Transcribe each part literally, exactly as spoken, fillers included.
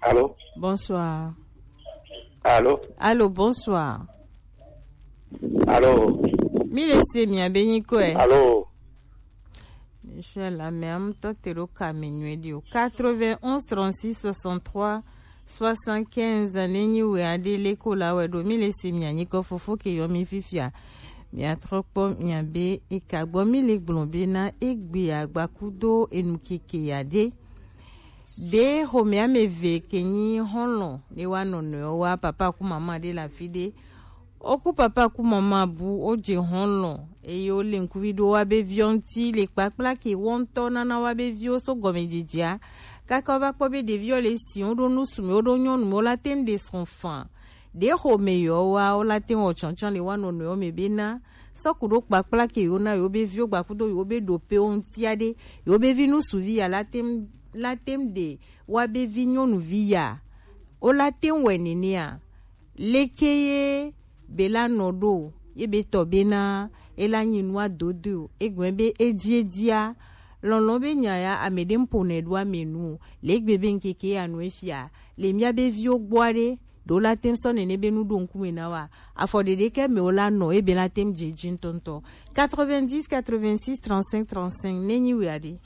Allô? Bonsoir. Allô? Allô, bonsoir. Allô? Mi le se mi abe nyi ko e. Allô? Inshallah, mais am to te ro ka mi nwe di o. Quatre-vingt-onze trente-six soixante-trois soixante-quinze, nenyi we ade le ko la we do. Mi le se mi anyi ko fofo ke yo mi fifia. Mi a trɔ kpɔ mi abe e ka gbɔ mi le gblɔ be na egbe agbakudo enu keke ya de. Ɖe xɔmea me ve ke nyi xɔlɔ̃ ne wa nɔnɔewo wa papa ku mama ɖe le afi ɖe. Woku papa ku mama bu wodze xɔlɔ̃ eye wole ŋkuvi ɖo wa be viwo ŋuti le kpakpla ke wɔ ŋutɔ nana wa be viwo so gɔmedzedzea. Kaka wova kpɔ be ɖeviwo le si woɖo nu sume woɖo nyɔnu me wola te ŋu ɖe srɔ̃ faa. Ɖe xɔme yewo wa wola te ŋu wɔ tsɔtsɔ le wa nɔnɔewo me bena sɔku ɖo kpakpla ke yewo na yewo be viwo gbakudo yewo be ɖopewo ŋuti aɖe yewo be vi ŋutsuvi ya la tem la tem ɖe wa be vi nyɔnuvi ya wola tem wɔe nenea leke ye be la nɔ ɖo ye be tɔ bena ela nyi nua dodo o egɔme be edzi edzia lɔlɔ be nya ya ame ɖe ŋpo nɛ ɖo ame nu o le egbe be ŋkeke ya nu efia le mía be viwo gbɔ aɖe ɖo la tem sɔ nene be nu ɖo ŋkume na wa afɔ ɖeɖe ke me wo la nɔ ebe la tem dze dzi ŋutɔŋutɔ quatre-vingt-dix quatre-vingt-six trente-cinq trente-cinq ne nyi wia ɖe.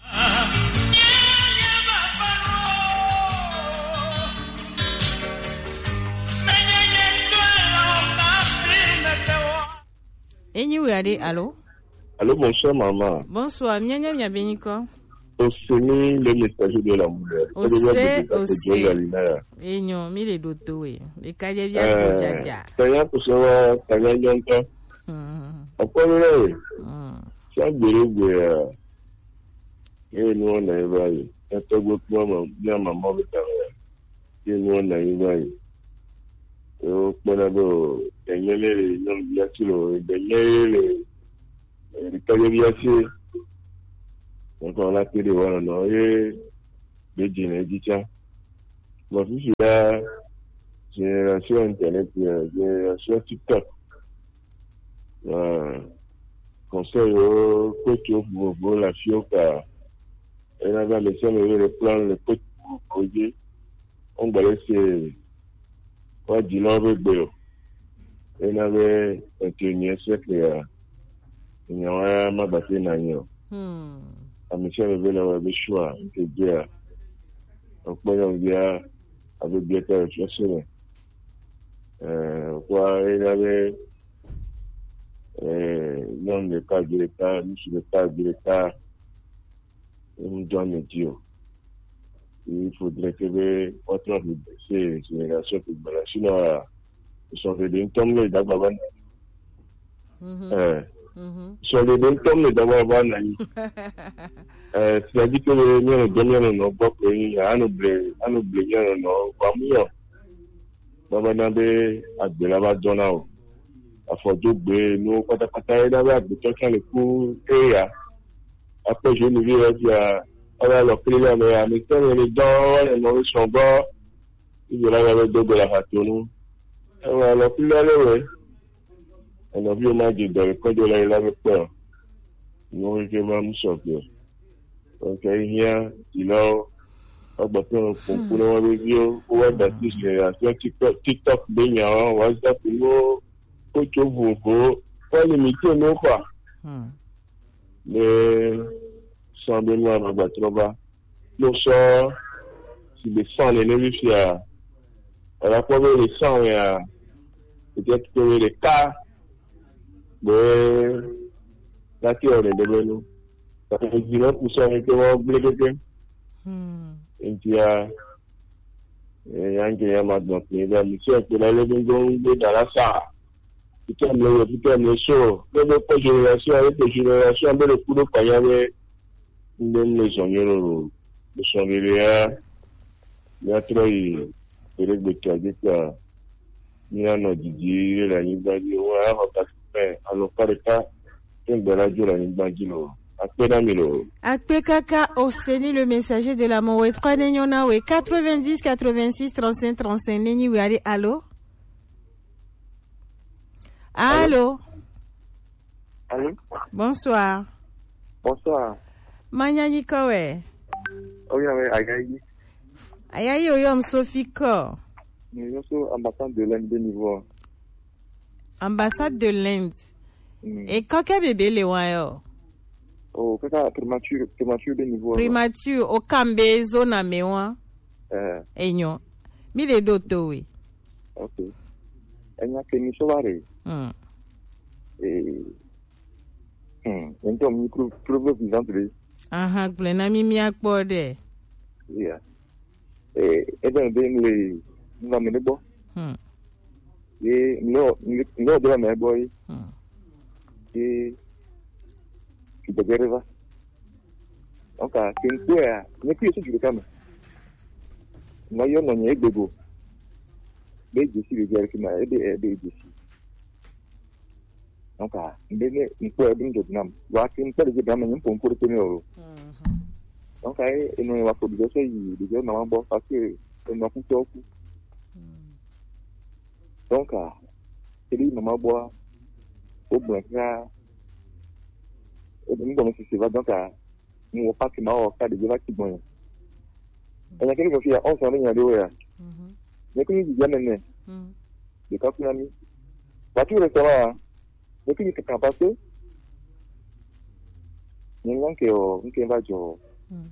Enyi wia ɖe alo? Alo, bonsoir maman. Bonsoir, mianya mia be nyikɔ. Oseni le message de la mule. Ose ose. Enyo mi le do to we. E ka je bia ko jaja. Tanya ko so wa tanya nyonto. Akwa mi le. Sa gbere gbe ya. E no na e ba yi. E to gbe kuma ma bia mama be ta ya. Ye nuwo na yi va yi. Wo kpɔna be o, enye le nyɔnuvi asi lo, enye ye le ɖekadzevi asi. Donc on a que des voilà non ye be dzi ne dzi tsa. Bon fifi la génération internet, génération TikTok. Conseil wo kpetso vovovowo le afiwo ka ena be ame sia ame be le plan le kpetso vovovowo dzi. Wogba le se woadzilawo be gbe o. Ena be vingt et unième siècle ya nyawo ya magba te na anyi o. Ame sia ame be le wɔ be sua nke dzia. Wokpɔ nyɔnuvia abe bia ta le fiase me. Kua ena be nyɔnu ɖeka vi ɖeka, ŋutsu ɖeka vi ɖeka, ŋdɔ ame dzi o. Il faudrait que be woatrɔ ʋu se génération ke gbɔna. Sinon, sɔhɛ ɖe ŋutɔ mle dagba va na. Eh, sɔhɛ ɖe ŋutɔ mle dagba va na anyi. Eh, c'est-à-dire que be míanɔ dɔ míanɔ nɔ gbɔ ko yin, anɔ ble, anɔ ble míanɔ nɔ, vɔ mu yɔ. Baba na be agbe la va dɔ na o. Afɔdogbe nuwo kpatakpata ye na be agbetɔ tsã le ku eya. Akpɔ jeune vi ya fia, ava lɔ kli la me ya, mi sɛ mi ni dɔ wa le nɔ sɔn gbɔ. Ibi la ya be do gbe la ha to nu. Ewa lɔ kli la le we. Enɔviwo ma dzi dɔ le kɔdzo la yi la be kpɔ. Nuwo ke ma mu sɔgbe. Donc, ehiã dzilawo, woagba ƒe kpɔkpɔ na woabe viwo, wowa da asi le afia TikTok, TikTok be nyawo, WhatsApp nuwo, kpotso vovovowo, woalimite nuwo kpɔa. Ne sɔ be nua magba trɔ va. Kpɔ sɔ si be sɔ nene fifia, wòle akpɔ be le sɔ ya, peut-être que le ka be lati wɔ nene be nu. Parce que dzi le ku sɔ mi ke wɔ gble keke. Ŋutia, eh, ya nke ya ma gbɔ kpe be mi sɔ kpe la le be ŋgɔ ŋgbe da la sa. Fitɛ mle yɔ, fitɛ mle so. Ne be kpɔ génération, ne kpɔ génération be le ku ɖo kpanya be ŋde mle zɔn nyɔ lolo. Sɔn ɖeɖe ya, ya trɔ yi ɖeɖe gbetɔ dzi kpa. Míanɔ didi le anyigba dzi. Wo ya xɔ quatre-vingts, alɔfa ɖeka, ke ŋgbe la dzo le anyigba dzi lo. Akpe na mi lo. Akpe kaka Oseni le messager de la mort. Trois ne nyɔ na we. Quatre-vingt-dix quatre-vingt-six trente-cinq trente-cinq ne nyi we ale. Allô? Allô? Allô? Bonsoir. Bonsoir. Manya nyikɔ wɛ. Oya wɛ Agayi. Aya yi o yɔm Sophie kɔ. Mi yɔ so ambassade de l'Inde de niveau. Ambassade de l'Inde. Mm. E kɔ kɛ bebe le wa yɔ. O kaka primature, primature de niveau. Primature o kambe zona me wa. Eh. Enyo. Mi le do to we. Ok. Enya ke mi so bare. Mm. Eh. Hmm. Ento mi pro, pro, pro vivant de. Aha, gblẽ na mi míakpɔ ɖe. Yeah. Eh, ebe be le ngamene gbɔ. Hmm. Ye nɔ nɔ de la me gbɔ yi. Hmm. Ye ki de gere va. Donc a kin ko ya, ne ki su jure kama. Na yo no nye gbego. Be jesi be jere kima, ebe ebe jesi. Donc a mbe ne nkpɔ ebi ŋdzɔ nam. Wa ke nkpɔ ɖe dzi nam nye ŋkpɔ ŋkpɔ ɖe teme o. Donc a ye eno ye wa fo ɖe sɔ yi ɖe dzi mama gbɔ parce que eno ku tɔ ku. Donc a ebi mama gbɔ o gblẽ ka ebi ŋgbɔ me sisi va donc a Mo wɔ paki ma wɔ ka ɖe va ti gbɔn ya. Enya kele ko fia on sɔn nya ɖe wo ya. Mhm. Ne ko ni didi ame ne. Mhm. De ka kuna mi. Ba tu restaurant. Ne ko ni kaka passe. Ni ngan ke o, nke va jo. Mhm.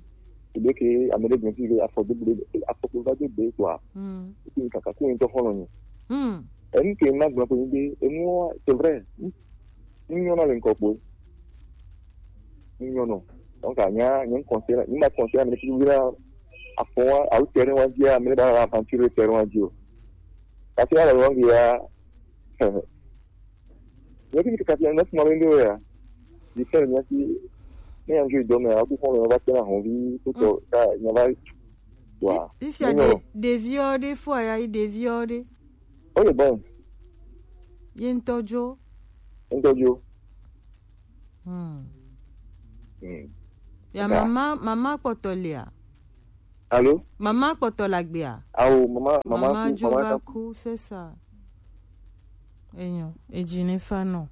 Ebe ke ame ɖe gbɔn ti le afɔ de ble, afɔ ko va de be quoi. Mhm. Ko ni kaka ko ni to hono ni. Mhm. E nke na gbɔn ko ni de, e mo c'est vrai. Nyɔna le ŋkɔ kpo. Nyɔnɔ. Donc anya nye conseil, nye ma conseil ame fi wira afɔ wa au terrain wa dia ame ba aventure terrain wa dio. Kasi ala wangi ya. Nye ki kasi na suma wende ya. Di sel nya si ne anju do me aku fon ba tena honvi tuto ka nya ba wa. Ifia de de viode fo ya de viode. Oye bon. Ye ŋutɔ dzo. Ŋutɔ dzo. Hmm. Hmm. Ya mama, mama kpɔtɔ lia. Allô? Mama kpɔtɔ la gbea. Awo, mama, mama, mama ku, dzo mama va ku, c'est ça. Enyo, edzi ne fa nɔ.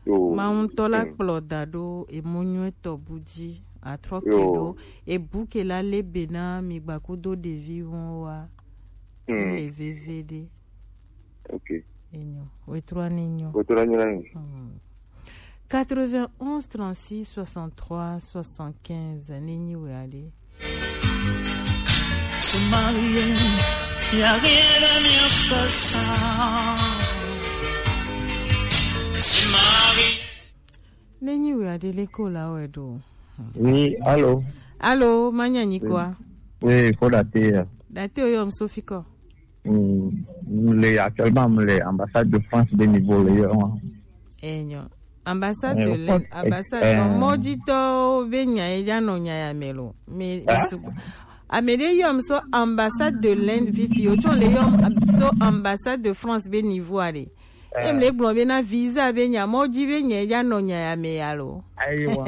Yo. Mawu ŋutɔ la kplɔ da ɖo emo nyuietɔ bu dzi atrɔ ke ɖo ebu ke la le be na mi gba kudo ɖevi wɔn wa. Hmm. Le veve ɖe. Ok. Enyo. Wetrɔ ni nyo. Wetrɔ ni nyo. Hmm. Quatre-vingt-onze trente-six soixante-trois soixante-quinze ne nyi we aɖe. Se marier, y a rien de mieux que ça. Se marier. Ne nyi we aɖe le ko la we ɖo. Oui, allô. Allô, manya nyi kwa. Oui, faut dater. Dater o yɔ m Sophie kɔ. Mm, le actuellement le ambassade de France de niveau le yɔ. Enyo. Ambassade de l'Inde, ambassade, mɔdzitɔwo be nya ye dza nɔ nya ya me lo. Me, me sugbɔ. Ame ɖe yɔm so ambassade de l'Inde vivi, o tsɔ le yɔm so ambassade de France be niveau aɖe. Em le gblɔ be na visa be nya mɔdzi be nya ye dza nɔ nya ya me ya lo. Ayiwa.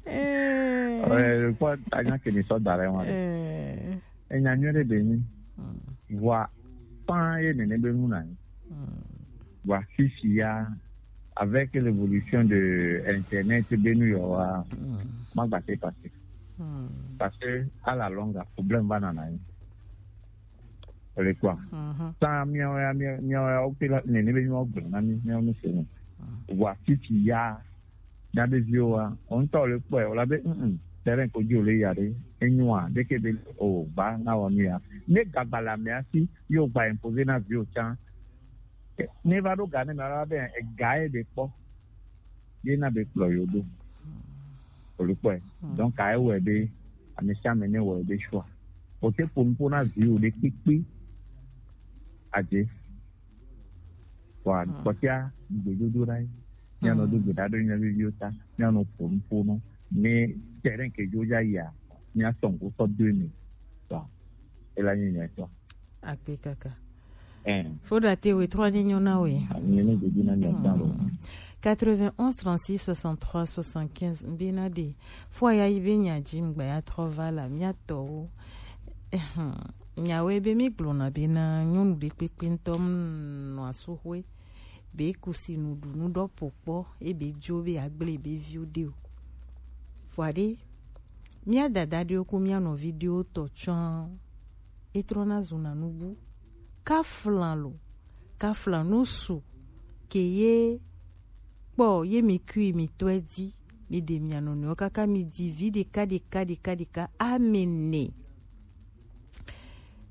Eh. Eh, kpɔ anya ke mi sɔ da ɖe wa. Eh. Enya nyuie ɖe be nyi. Mm. Vɔa, pan ye nene be nu na nyi. Mm. Vɔa, fifi ya, avec l'évolution de Internet, be nu yɔ wa, mm, ma gba se passer. Mm. Parce que, à la longue, problème va nana nyi. Ele kpɔa. Mhm. Sans miawo ya, mia-, miawo ya, wo ke la, nene be miawo gblɔ na mi, miawo mi se ni. Mhm. Vɔa, fifi ya, Nyaɖeviwoa, wo ŋutɔ le kpɔe, wòle be, mm, mm, terrain ko dzi wòle ya ɖe, enyoa, ɖeke be o, ba na wɔ nu ya. Ne gagba le amea si, ye wògba imposer na viwo tsã. Ne va ɖo ga ne mea la be, ega ye be kpɔ. Ye na be kplɔ yo ɖo. Wòle kpɔe. Donc, ka ye wɔe be, ame sia ame ne wɔe be choix. Wòte ƒo nuƒo na viwo ɖe kpekpe. Adze. Wa kpɔtia gbedodo ɖa yi. Míanɔ do gbe ɖa ɖo mía viviwo ta. Míanɔ ƒo nu ƒo nu. Ne terrain ke dzo dza yia, míasɔ ŋku sɔ do eme. Wa ela nye nya etɔ. Akpe kaka. Ɛn. Fo ɖa te we trɔ ne nyɔ na we. Nye ne gbedo na mia ta lo. Quatre-vingt-onze trente-six soixante-trois soixante-quinze mbe na ɖe. Fo ya yi be nya dzi ŋgba ya trɔ va la mía tɔwo. Ehem. Nyawoe be mi gblɔna bena nyɔnu ɖekpekpe ŋutɔ nɔa suxwe be kusi nuɖunu ɖɔ po kpɔ ebe dzo be agble be viwo ɖe o. Vɔa ɖe Mía dada ɖewo ku mía nɔvi ɖewo tɔ tsɔn. E trɔna zuna nubu. Kaflan lo, kaflan nu su ke ye kpɔ ye mi kui mi tɔe di, mi ɖe mia nɔnɔewo kaka mi di vi ɖeka ɖeka ɖeka ɖeka amene.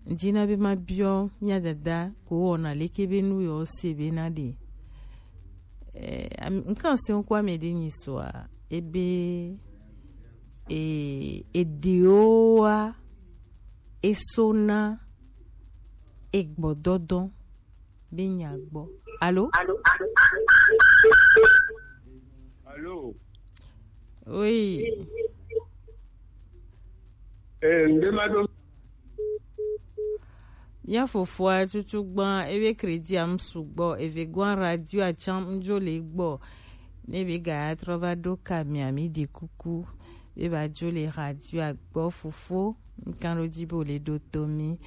Ŋdina be ma biɔ mía dada ko wɔna leke be nu yɔ se be na ɖe. Eh, am- nkan se ŋkɔ ame ɖe nyi soa ebe e eɖewoa eso na egbɔdɔdɔ be nya gbɔ. Alo? Alo. Oui. Eh, ŋde ma ɖo. Mía fofoa tutu gbã ebe crédit am sugbɔ eve gbã radio atsam ŋdzo le gbɔ. Ne be ga trɔ va ɖo ka mia mi ɖi kuku be ba dzo le radio agbɔ fofo. Ŋkan ɖo dzi be wo le ɖo to mi.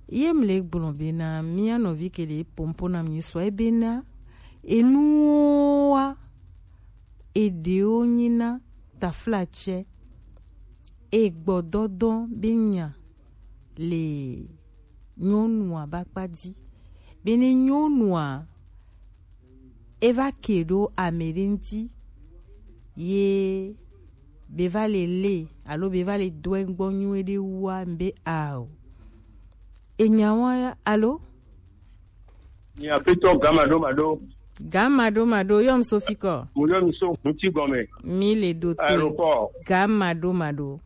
Ye mi le gblɔ be na mía nɔvi ke le pompo na mi sɔ ebe na enuwoa eɖewo nyi na taflatsɛ egbɔdɔdɔ be nya le nyɔnua ba kpa di. Be ne nyɔnua eva ke ɖo ame ɖe ŋti ye be va le le alo be va le do egbɔ nyuie ɖe wua be ao. Enya wa ya alo? Nye aƒetɔ gã maɖomaɖo. Gã maɖomaɖo, yɔm Sofi kɔ. Mo yɔ mi so ŋuti gɔme. Mi le ɖo to. Aeroport. Gã maɖomaɖo.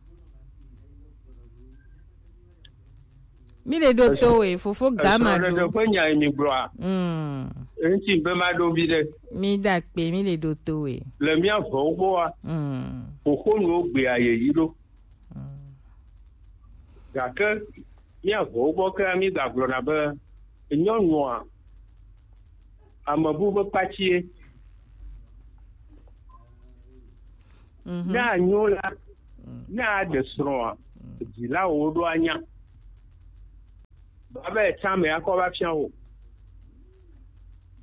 Mi le ɖo to we, fofo gã maɖo. Esrɔ̃ɖeɖe ƒe nya yi mi gblɔa? Mm. Eŋti be ma ɖo vi ɖe. Mi da kpe, mi le ɖo to we. Le mía vɔwo gbɔa? Mm. Xoxonuwo gbea yeyi ɖo. Mm. Gake mía vɔwo gbɔ ke mi gagblɔna be nyɔnua amebu be kpatsie. Mhm. Ne anyo la, mm, ne aɖe srɔ̃a, mm, dzilawo ɖo anya. Baba etsã ame akɔ va fia wo.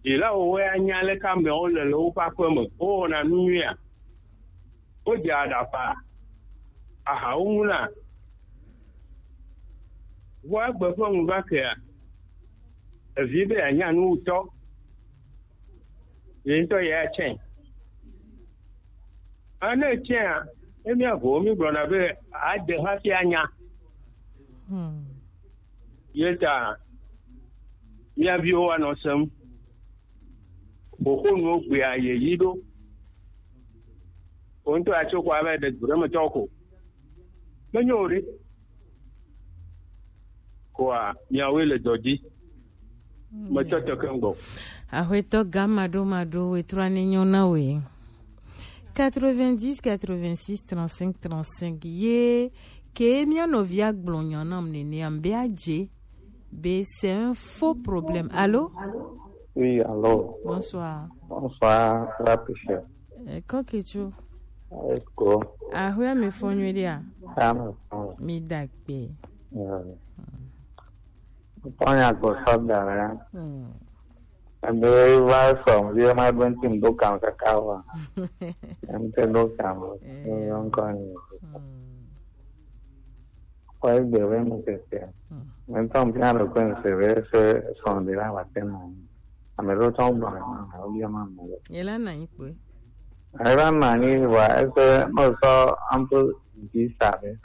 Dzilawo woe anya leke ameawo le le woƒe aƒe me. Wowɔna nu nyuia? Wodze aɖaƒa? Ahawo ŋuna? Vɔ egbe ƒe ŋu va kea, evi be yeanya nu ŋutɔ. Ye ŋutɔ ye atsɛ. Ane tsɛa, ne míaʋɔ wo, mígblɔna be ade hafi anya. Hmm. Ye ta mía viwo anɔ sem. Xoxonuwo gbea yeyi ɖo. Wo ŋutɔ atso ko ava ɖe du ɖe me tɔ ko. Menyo o ɖe. Koa miawoe le dɔ dzi. Metsɔ teke ŋgbɔ. Aƒetɔ gã maɖomaɖo wetrɔ ne nyɔ na we. Quatre-vingt-dix, quatre-vingt-six, trente-cinq, trente-cinq. Ye ke mía nɔvia gblɔ nya nam nenea, be adze be c'est un faux problème. Allô? Oui, allô. Bonsoir. Bonsoir, Patricia. Eh, kɔkitsu. Eko. Aƒea mi fɔ nyuie ɖea? Ame fɔ. Mi da kpe. Yeah. Fɔ nya gbɔ sɔ da ya. Hmm. Ebe va sɔ, vie ma be ŋuti ŋdo kam kaka wa. Ŋte do kam. Eh. Ŋkɔ ni. Hmm. Kɔ egbe be mu keke. Hmm. Ŋutɔ ŋfia ɖe kɔe ŋse be se sɔn de la wa te na. Ame ɖewo tsɔ gblɔ na ame ɖewo bia ma ame ɖewo. Ye la na anyi kpoe. Eva na anyi vɔa ese no sɔ ample dix sa ɖe.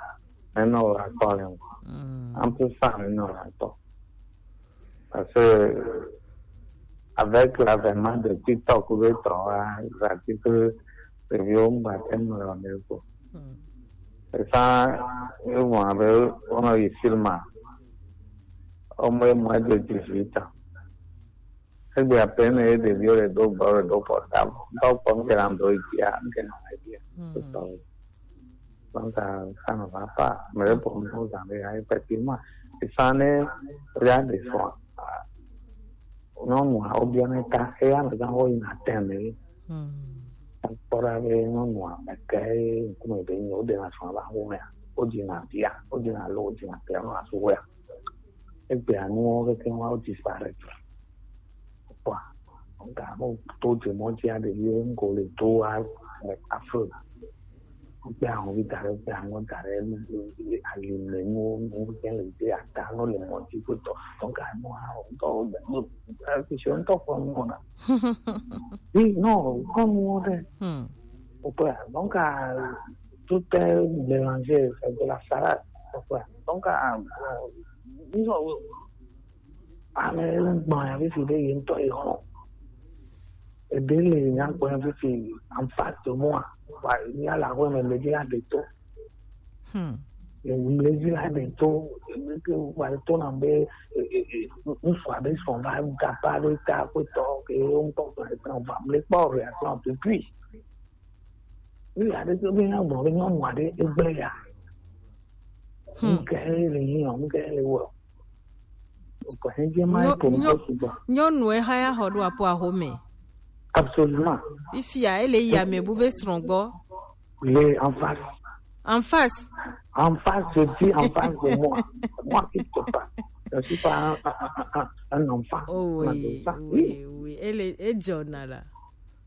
Eno la kɔ le ŋgɔ. Mm. Ample sa eno la kɔ. Parce que avec l'avènement de TikTok be tɔ wa, gratuit que ɖeviwo ŋgba te nu le wɔme ko. Mm. Esa, ewɔ abe wonɔ yi film a. Wome mɔ edo dix-huit ans. Egbea pɛ ne ye ɖeviwo le do bɔl, le do portable. Ŋutɔ kpɔ ŋke na do dzia, ŋke na dzia. Mm. Donc, ça ne va pas. Mais pour nous, ça ne va effectivement. Et ça ne, regarde, son, nyɔnua, ou bien ta, eya me gã wo yina tɛmɛ. Hmm. Kpɔ ɖa be nyɔnua, meke ŋkume be nyi, woɖena srɔ̃a va xɔmea, wodina via, wodina lo, wodina via nɔ asu wea. Egbea nuwo keke wa wo disparaître. Kpɔa, ga mo to dze mɔ dzi aɖe ye ŋgo le do a, afro. Gbe ahun vi da ɖe, gbe ahun da ɖe, alime nuwo, nu ke le gbe ata no le mɔ dzi kpotɔ. Donc, à moi, on doit, c'est un top pour moi, là. Oui, non, comme on est. Hmm. Au point. Donc, euh, tout est mélangé, c'est de la salade. Au point. Donc, euh, euh, disons, ame gbɔna fifi ɖe ye ŋutɔ ye xɔ. Ebe le nya gbɔna fifi en face de moi. Wa, nya la xɔ me, me di la de to. Hmm. Mlezi la ɖe to, ke wa to na be, e, e, e, ŋutsu aɖe sɔ va gaba ɖe ta kpetɔ ke wo ŋutɔ gba ɖe ta va mle kpɔ reaction depuis. Wi aɖe to be na gbɔ be nyɔnu aɖe egble ya. Hmm. Nke le yi o, nke le wo. Ko he je ma Nyɔ- ko nyɔ- ko sugbɔ. Nyɔnu eha ya xɔ ɖo apo axome. Absolument. Fifia ele yi ame bu be srɔ̃ gbɔ. Le en face. En face. En face, je dis en face de moi. Moi qui te parle. Je ne suis pas un, un, un, un, un enfant. Oh oui, oui, oui. Elle est, est Jonah là.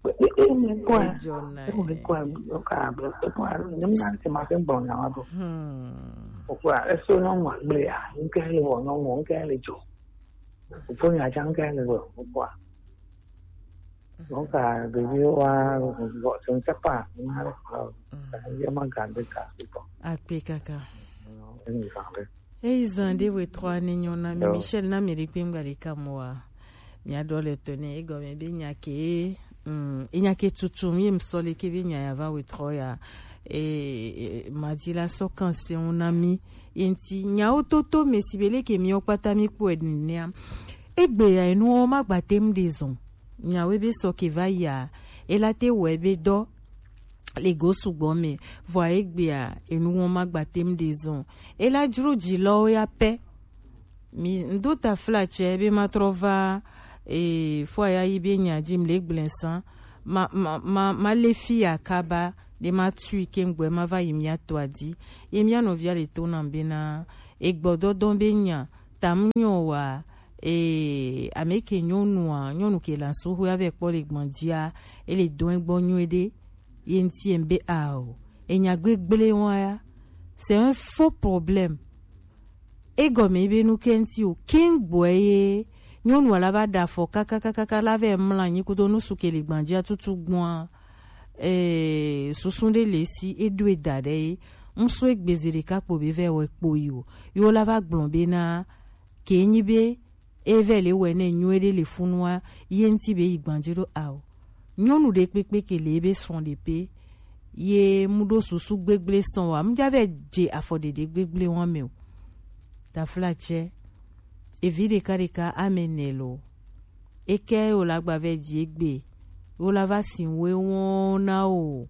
Et, et, mais quoi? Et Jonah. Et mais quoi? Donc, ah, ben, c'est quoi? Je me demande si ma femme bon, là, bon. Hmm. Pourquoi? Est-ce que non, moi, mais, ah, une quelle est bon, non, une quelle est Joe. Pourquoi il y a une quelle est bon? Pourquoi? Donc, euh, de vieux, euh, bon, je ne sais pas. Vraiment garder ça, c'est bon. Akpe kaka. Eyi zan ɖe we trɔ ani nyɔ na mi. Michel, na mi ɖi kpengba ɖeka mɔ wa. Mia ɖɔ le to ne egɔme be nya ke, mm, enya ke tutu mi mi sɔ le ke be nya ya va we trɔ ya. E, e, madi la sɔ kan se ŋu na mi. Ye ŋti nyawo toto me si be le ke mi o kpata mi kpɔ e nea. Egbe ya enu o ma gba tem de zɔn. Nyawo be sɔ ke va ya. E la te wɔ be dɔ le go sugbɔ me, vɔa egbea enu wɔn ma gba tem de zɔn. Ela dzro dzi lɔwo ya pɛ. Mi ŋdo taflatsɛ be ma trɔ va, e, fo ya yi be nya dzi mle gblẽ san. Ma, ma, ma, ma le fi ya kaba, de ma tui ke ŋgbɛ ma va yi mia to adi. Ye mia nɔvia le to nam be na, e gbɔdɔdɔ be nya, tam nyɔ wa, e, ame ke nyɔnua, nyɔnu ke la so ho ya vɛ kpɔ le gbɔn dzia, e le dɔn gbɔ nyuie ɖe. Ye ŋti ŋbe ao. Enya gbegble wa ya. C'est un faux problème. Egɔme be nu ke ŋti o. King boy ye. Nyɔnu la va da fɔ kakakakaka la vɛ mla nyi kudo nu su ke le gbɔn dzia tutu gbɔn. Eh, susu ɖe le si eɖo eda ɖe ye. Ŋsu egbeze ɖeka kpo be vɛ wɔ kpo yi o. Yo la va gblɔ be na ke nyi be e vɛ le wɛ nɛ nyuie ɖe le funua ye ŋti be yi gbanje ɖo ao. Nyɔnu ɖe kpekpe ke le ebe srɔ̃ ɖe pe ye mu ɖo susu gbegble sɔn wa mu ja vɛ dze afɔ ɖeɖe gbegble wɔn me o. Taflatsɛ, evi ɖeka ɖeka ame nɛ lo. Eke o la gba vɛ dzi egbe. O la va si we wɔn na o.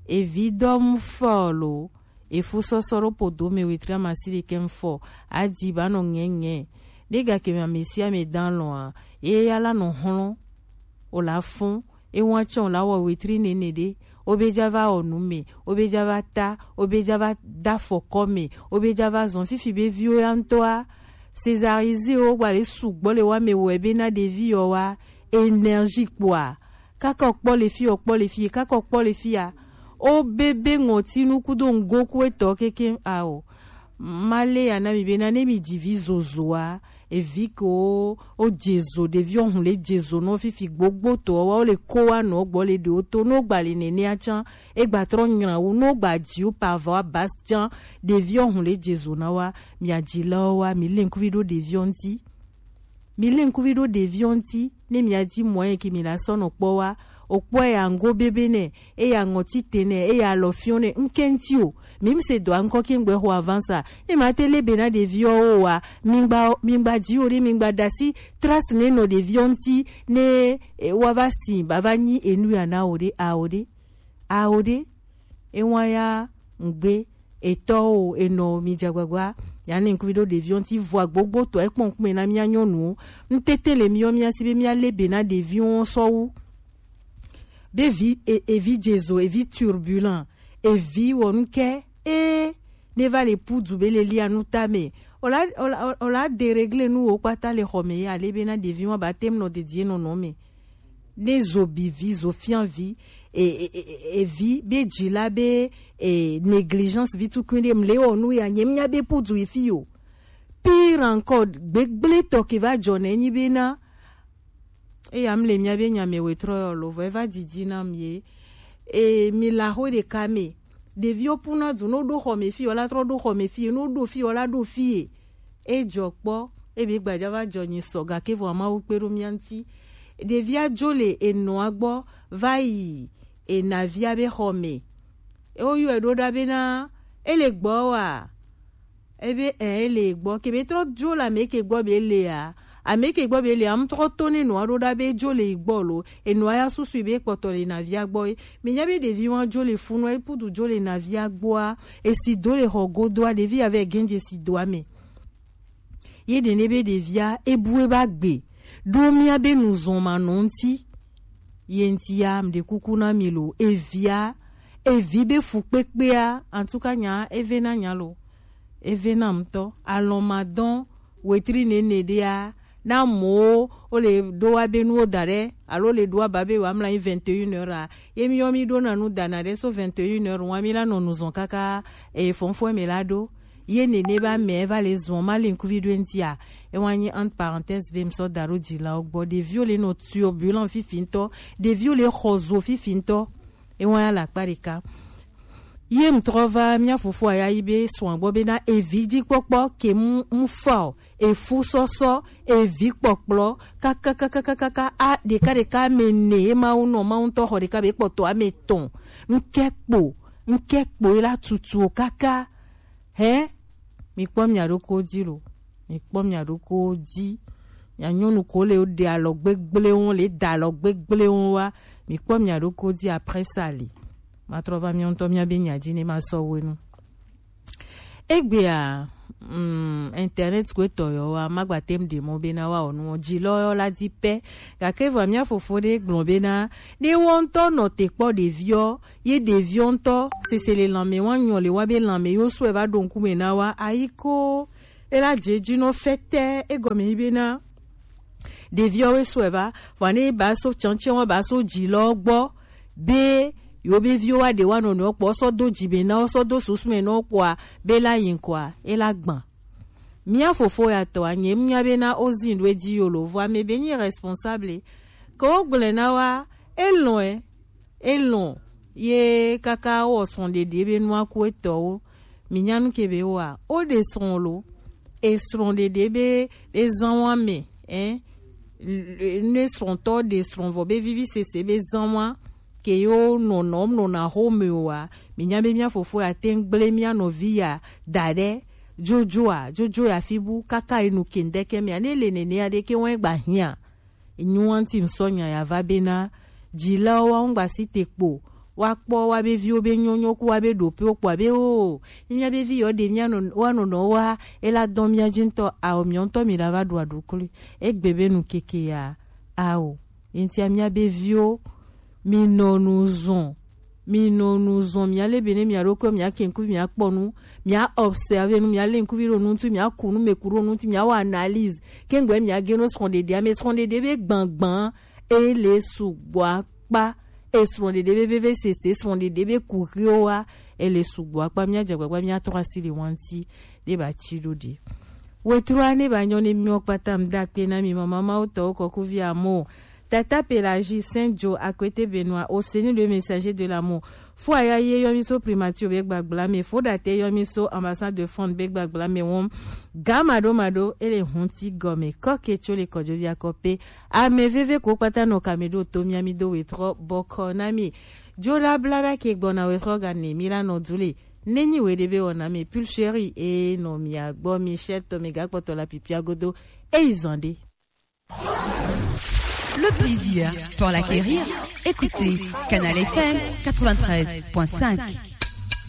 Evi dɔ mu fɔ lo. Efu sɔsɔ ɖo podo me wetri amasi ɖekɛ ŋfɔ, adi ba nɔ ŋɛŋɛ. Ɖe gake me amesi ame dan lɔa, ye ya la nɔ hlɔn, o la fun, e wɔn atsɔ o la wɔ wetri nene ɖe, o be ja va wɔ nu me, o be ja va ta, o be ja va da fɔkɔ me, o be ja va zɔn fifi be viwo ya ŋtɔa, césariser o gba le sugbɔ le wa me wɔ ebe na ɖevi yɔ wa, énergie kpoa, kaka okpɔ le fi, okpɔ le fi, kaka okpɔ le fi ya. O bebe ŋɔtinu kudo ŋgoku etɔ keke ao. Male ya na mi be na ne mi dzi vi zozoa, evi ko o dze zo, ɖevi ohun le dze zo nɔ fifi gbogbo to wa o le ko wa nɔ gbɔ le ɖe o to no gba le nene atsan, e gba trɔ nyra wu no gba dzi o pa va wa bas tsan, ɖevi ohun le dze zo na wa, mi adzi la wa, mi le ŋkuvi ɖo ɖevi o ŋti. Mi le ŋkuvi ɖo ɖeviwo ŋti, ne mi adi mɔ ye ke mi la sɔ nɔ kpɔ wa, o kpɔ ya ŋgo bebe nɛ, e ya ŋɔti te nɛ, e ya alɔ fiɔ nɛ, ŋke ŋti o. Mi mi se dɔ aŋkɔ ke ŋgbɛ xɔ avansa. Ne ma te le be na ɖeviwo o wa, mi ŋgba, mi ŋgba dzi o ɖe, mi ŋgba dasi trace ne nɔ ɖeviwo ŋti, ne, e, wa va si, ba va nyi enu ya na o ɖe, a o ɖe. Ao ɖe, ewa ya ŋgbe etɔwo enɔ mi dzagbagba ya ne ŋkuvi ɖo ɖeviwo ŋti vɔ agbogbo tɔ ekpɔ ŋkume na mia nyɔnuwo. Ŋtete le miɔ mia si be mia le be na ɖeviwo sɔwu. Be vi e, evi dzezo, evi turbulent, evi wɔnuke e ne va le pudu be le lia nu tame. Ola ola ola deregle nu wo kpata le xɔme ya le be na ɖeviwo ba tem nɔ dedie nɔnɔ me. Ne zo bi vi, zo fia vi, e, e, e, e vi be jila be, e, négligence vi tukun de mle onu ya nyem nya be pudu ifi yo. Pire encore, gbegble to ke va jone nyi be na. E ya mle mia be nya me we tro yo lo, vo e va didi na mi ye. E mi la ho de ka me. Ɖeviwo puna du, ne woɖo xɔ me fi, wola trɔ ɖo xɔ me fi, ne woɖo fi, wola ɖo fi. E jɔ kpɔ, e be gbaja va jɔ nyi sɔ, gake vɔ Mawu kpe ɖo mía ŋuti. Ɖevia dzo le enɔa gbɔ va yi enavia be xɔ me. E woyɔe ɖo ɖa bena, e le gbɔ wa? Ebe ɛ, e le gbɔ. Ke be trɔ dzo le ame ke gbɔ be le a, ame ke gbɔ be le a, ŋtrɔ to ne nɔa ɖo ɖa be dzo le yi gbɔ lo. Enɔa ya susu be kpɔtɔ le navia gbɔ ye. Mi nya be ɖevi wa dzo le funu, e pudu dzo le navia gbɔa, e si do le xɔ godoa, ɖevi ya vɛ gɛnje si doa me. Ye ɖe ne be ɖevia e bu e ba gbe ɖo mía be nuzɔn ma nɔ ŋuti. Ye ŋuti ya, mɖe kuku na mi lo, evia, evi be fu kpekpea, en tout cas nya, eve na nya lo, eve na ŋutɔ. Alɔn ma dɔn wetri nene ɖea, na mowo wo le ɖo wa be nuwo da ɖe, alo le ɖo wa ba be wa mla anyi vingt et une heures a, ye mi yɔ mi ɖo na nu da na ɖe so vingt et une heures wa mi la nɔ nuzɔn kaka e fɔnfɔn me la ɖo. Ye nene ba mɛ va le zɔn ma le ŋkuvi ɖo ŋuti a. E wa nyi entre parenthèse ɖe mi sɔ da ɖo dzilawo gbɔ. Ɖeviwo le nɔ turbulent fifi ŋutɔ. Ɖeviwo le xɔ zo fifi ŋutɔ. E wa ya le akpa ɖeka. Ye ŋtrɔ va mía fofo aya yi be srɔ̃a gbɔ bena evi dzi kpɔkpɔ ke mu, mu fa o, efu sɔsɔ, evi kpɔkplɔ, kakakakakaka, a ɖeka ɖeka ame ne ye Mawu nɔ, Mawu ŋutɔ xɔ ɖeka be kpɔtɔ ame etɔ̃. Ŋkɛ kpo, ŋkɛ kpo ye la tutu o kaka. Hɛ? Mi kpɔ mia ɖokuiwo dzi lo. Mi kpɔ mia ɖokuiwo dzi. Mia nyɔnu ko le ɖe alɔ gbegble wo, le da alɔ gbegble wo wa. Mi kpɔ mia ɖokuiwo dzi, après ça li. Ma trɔ va mia ŋutɔ mia be nya dzi ne ma sɔ wo nu. Egbea, mm, internet ko etɔ yɔ wa, ma gba tem ɖe mɔ bena wa o nu dzi lɔ yɔ la di pɛ. Gake vɔ mia fofo ɖe gblɔ bena, ne wɔ ŋutɔ nɔ te kpɔ ɖeviɔ, ye ɖeviɔ ŋutɔ sese le lanmɛ wa nyɔ le wa be lanmɛ yo sɔe va ɖo ŋkume na wa, ayi ko, e la dze dzi nɔ fɛtɛ, egɔme yi bena, ɖeviɔ we sɔe va, vɔ ne ba so tiɛntiɛn wa ba so dzi lɔ gbɔ, be yo be viwo wa ɖe wa nɔnɔewo kpɔ, sɔ do dzi me na wo, sɔ do susu me na wo kpɔa, be la yi kɔa, e la gbã. Mía fofo ya tɔ a, nye ŋu nya bena wo zin ɖo edzi yo lo, vɔ ame be nyi responsable. Ke wo gblɔe na wa, e lɔ̃ ɛ, e lɔ̃ ye kaka wɔ srɔ̃ɖeɖe be nua ku etɔwo. Mi nya nu ke be wa, wo ɖe srɔ̃ lo, e srɔ̃ɖeɖe be, be zan wa me, ɛ, ne srɔ̃tɔ ɖe srɔ̃ vɔ be vivi sese be zan wa, ke yo nɔnɔ, nɔna xo me o wa, mi nya be mía fofo ya te ŋu gble mía nɔvi ya da ɖe, jojo a, jojo ya fi bu, kaka enu ke ŋdeke mea, ne le nene ya ɖe ke wɔn gba hiã. Enyo wa ŋuti ŋsɔ nya ya va bena, dzilawo wa ŋgba si te kpo, wa kpɔ wa be viwo be nyɔnyɔ ku wa be ɖoƒewo kpɔa be o, ne mía be vi yɔ ɖe mía nɔ, wa nɔnɔ wa, e la dɔn mía dzi ŋutɔ, ao, mia ŋutɔ mi la va ɖu aɖukli. Egbe be nu keke ya, ao. Ye ŋutia mía be viwo, mi nɔ nu zɔn, mi nɔ nu zɔn, mia le be ne mia ɖokui, mia ke ŋkuvi, mia kpɔ nu, mia observe nu, mia le ŋkuvi ɖo nu ŋuti, mia ku nu me ku ɖo nu ŋuti, mia wɔ analyse. Ke ŋgbe mia ge no srɔ̃ɖeɖe, ame srɔ̃ɖeɖe be gbãgbã, e le sugbɔ akpa, e srɔ̃ɖeɖe be veve sese, srɔ̃ɖeɖe be kuxiwo wa, e le sugbɔ akpa, mia dze agbagba, mia trɔ asi le wa ŋuti, ɖe ba tsi ɖo ɖe. Wetrua ne ba nyɔ ne miɔ kpata ŋda kpe na mi mama mawo tɔwo kɔkuvi amo. Tata Pelagie Saint Joe Akwete Benoît, au Seigneur le messager de l'amour. Fo aya ye yɔ mi so primature be gbagbla me, fo date yɔ mi so ambassade de France be gbagbla me wɔm. Ga mado mado ele hunti gɔme kɔke tso le kɔjo via kɔpe. Ame veve ko kpata nɔ kame ɖo to mia mi do wetrɔ bɔkɔ na mi. Jola bla ba ke gbɔna wetrɔ ga ne mi la nɔ du le. Nenyi we ɖe be wɔna mi pulcheri e nɔ mia gbɔ mi chef to mi ga kpɔtɔ la pipia godo. E izan ɖe. Le plaisir pour l'acquérir, écoutez Canal F M quatre-vingt-treize point cinq.